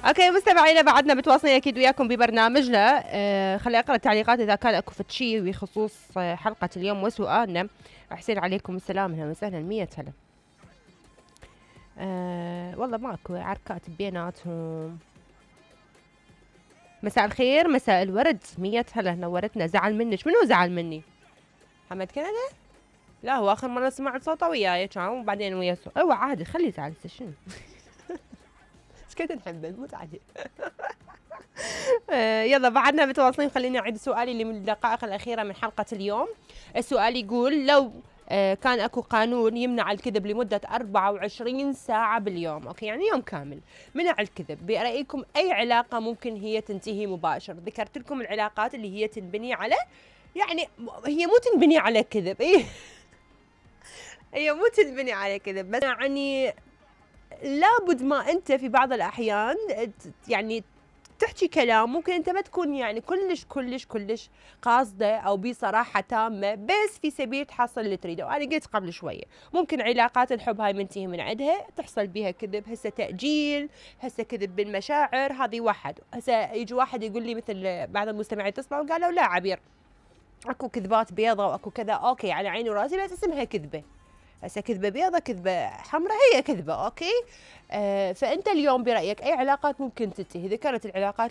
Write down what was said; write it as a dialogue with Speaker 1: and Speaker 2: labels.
Speaker 1: اوكي مستمعينا بعدنا متواصلين اكيد وياكم ببرنامجنا. خلي اقرا التعليقات اذا كان اكو شيء بخصوص حلقه اليوم وسؤالنا. حسين عليكم السلام، اهلا وسهلا، 100 هلا. والله ماكو عركات بيناتهم. مساء الخير، مساء الورد، 100 هلا، نورتنا. زعل منك؟ منو زعل مني؟ حمد كندا؟ لا هو اخر مره سمعت صوته وياي كان وبعدين ويا ايوه عادي خليه يزعل شنو. ايش كنت نحبه نموت عليه. يلا بعدنا متواصلين. خليني اعيد سؤالي اللي من الدقائق الاخيره من حلقه اليوم. السؤال يقول لو كان اكو قانون يمنع الكذب لمده 24 ساعه باليوم، اوكي يعني يوم كامل منع الكذب، برايكم اي علاقه ممكن هي تنتهي مباشر؟ ذكرت لكم العلاقات اللي هي تنبني على يعني هي مو تنبني على كذب، هي مو تنبني على كذب، بس يعني لابد ما انت في بعض الاحيان يعني تحكي كلام ممكن انت ما تكون يعني كلش قاصده او بصراحه تامه، بس في سبيل تحصل اللي تريده. وانا قلت قبل شويه ممكن علاقات الحب هاي منتهي من عندها تحصل بها كذب، هسه تاجيل، هسه كذب بالمشاعر، هذه واحد. هسه يجي واحد يقول لي مثل بعض المستمعين اتصلوا قالوا لا عبير اكو كذبات بيضة واكو كذا، اوكي على عيني وراسي بس اسمها كذبه. هسه كذبه بيضة كذبه حمراء هي كذبه، اوكي. فانت اليوم برايك اي علاقات ممكن تنتهي؟ ذكرت العلاقات